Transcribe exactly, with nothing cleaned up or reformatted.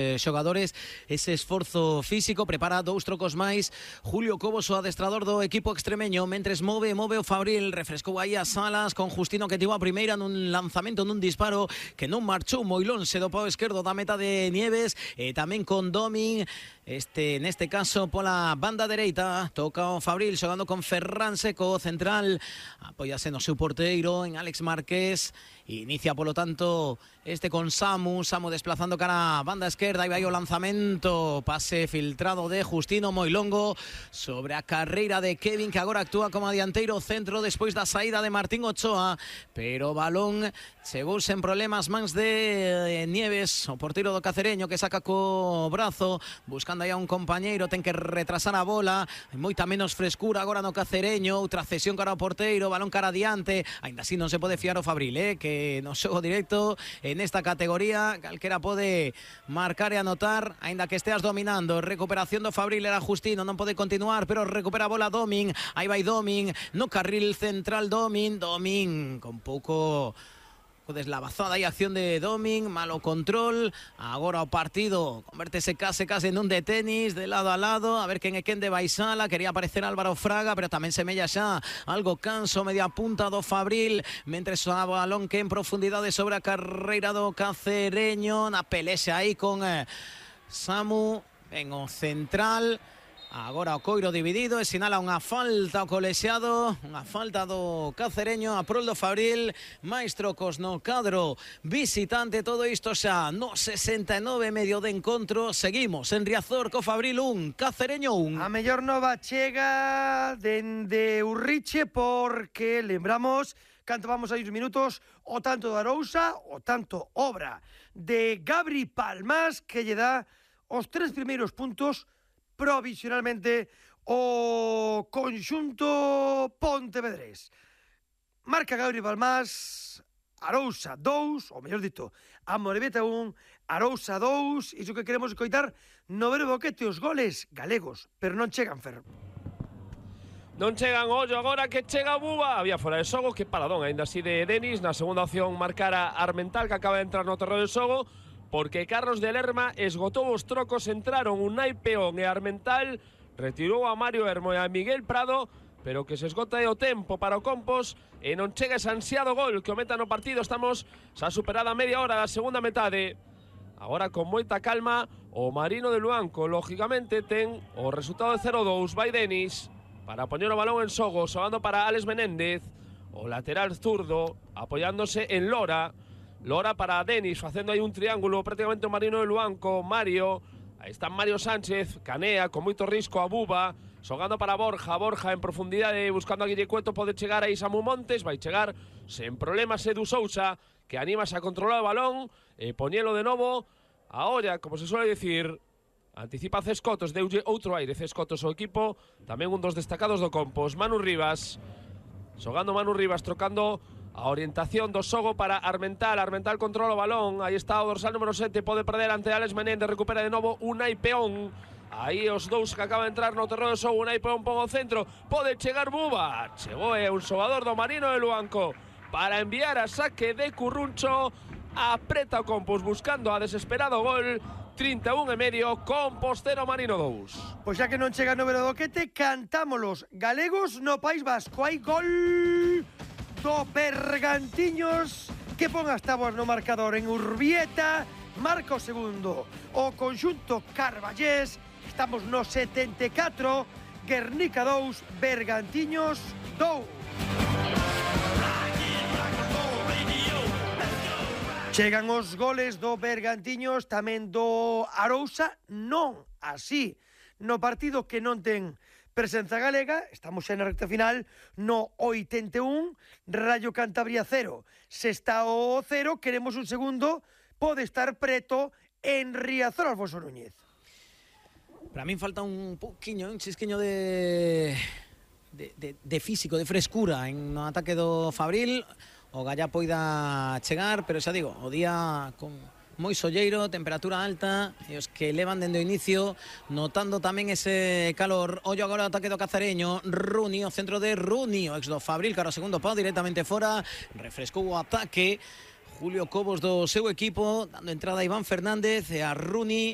Eh, xogadores ese esforzo físico, prepara dous trocos máis Julio Cobos, o adestrador do equipo extremeño, mentres move, move o Fabril, refrescou aí as Salas con Justino, que tivo a primeira nun lanzamento, nun disparo que non marchou moi lonxe do pau esquerdo da meta de Nieves, e tamén con Domin, este neste caso pola banda dereita, toca o Fabril xogando con Ferran Seco, central, apóiase no seu porteiro, en Alex Márquez, inicia polo tanto este con Samu, Samu desplazando cara a banda esquerda. Aí vai o lanzamento, pase filtrado de Justino moi longo sobre a carreira de Kevin, que agora actúa como dianteiro centro despois da saída de Martín Ochoa, pero o balón chegou sen problemas mans de Nieves, o porteiro do Cacereño, que saca co brazo buscando aí a un compañeiro, ten que retrasar a bola, hai moita menos frescura agora no Cacereño, outra cesión cara ao porteiro, balón cara adiante, aínda así non se pode fiar o Fabril, eh, que no xogo directo en esta categoría calquera pode marcar e anotar, aínda que esteas dominando. Recuperación do Fabril, era Justino, non pode continuar, pero recupera a bola Domin, aí vai Domin, no carril central Domin, Domin con pouco deslavazada e acción de Domin, malo control, agora o partido convértese case case nun de tenis, de lado a lado, a ver quen é quen de Baisala, quería aparecer Álvaro Fraga, pero tamén semella xa algo canso, media punta do Fabril, mentres o balón que en profundidade sobre a carreira do Cacereño, na pelexa aí con eh, Samu, en o central. Agora o coiro dividido e sinala unha falta ao colexiado, unha falta do Cacereño a prol do Fabril, máis trocos no cadro visitante, todo isto xa no sesenta e nove medio de encontro. Seguimos en Riazor co Fabril un, Cacereño un. A mellor nova chega dende Urriche, porque lembramos, canto vamos a uns minutos, o tanto de Arousa, o tanto obra de Gabri Palmas, que lle dá os tres primeiros puntos provisionalmente o conxunto pontevedrés. Marca Gabri Palmas, Arousa dous, ou mellor dito, Amorebieta un, Arousa dous, iso que queremos escoitar no ver boquete os goles galegos, pero non chegan, Fer. Non chegan, ollo agora que chega Buba. Había fora de xogo, que paradón, ainda así de Denis. Na segunda opción marcara Armental, que acaba de entrar no terreno de xogo, porque Carlos de Lerma esgotou os trocos, entraron Unai Peón e Armental, retirou a Mario Hermo e a Miguel Prado, pero que se esgota o tempo para o Compos e non chega ese ansiado gol que o meta no partido. Estamos xa superada a media hora da segunda metade. Agora con moita calma o Marino de Luanco, lógicamente ten o resultado de cero dous. Vai Denis para poñer o balón en xogo, xogando para Alex Menéndez, o lateral zurdo, apoiándose en Lora. Lora para Denis, facendo aí un triángulo prácticamente o Marino de Luanco, Mario, aí está Mario Sánchez, canea con moito risco a Buba, xogando para Borja, Borja en profundidade, buscando a Guille Cueto, pode chegar aí Samu Montes, vai chegar sen problemas Edu Sousa, que animase a controlar o balón, e poñelo de novo a olla, como se suele decir, anticipa Cescotos, deulle outro aire Cescotos ao equipo, tamén un dos destacados do Compos, Manu Rivas, xogando Manu Rivas, trocando a orientación do xogo para Armental. Armental controla o balón, aí está o dorsal número sete, pode perder ante Alex Menéndez, recupera de novo Unai Peón, aí os dous que acaba de entrar no terreno de xogo. Unai Peón pon o centro, pode chegar Buba, chegou é un xogador do Marino de Luanco para enviar a saque de Curruncho, apreta o Compos buscando a desesperado gol. Trinta e un e medio, Compos cero, Marino dous. Pois xa que non chega no Veradoquete, cantámolos galegos no País Vasco. Hai gol do Bergantiños, que pon as táboas no marcador en Urbieta, marca o segundo o conxunto carballés. Estamos no setenta e catro, Guernica dous, Bergantiños dous. Chegan os goles do Bergantiños, tamén do Arousa, non así no partido que non ten presenza galega. Estamos xa na recta final, no oitenta e un, Rayo Cantabria cero. Se está o cero, queremos un segundo, pode estar preto en Riazor, Alfonso Núñez. Para min falta un pouquiño, un chisquiño de, de, de, de físico, de frescura en no ataque do Fabril. O Gallá poida chegar, pero xa digo, o día con moi solleiro, temperatura alta, e os que levan dende o inicio notando tamén ese calor. Ollo agora o ataque do Cacereño, Runi, o centro de Runi, o ex do Fabril, cara o segundo pau directamente fora, refrescou o ataque Julio Cobos do seu equipo, dando entrada a Iván Fernández e a Rooney.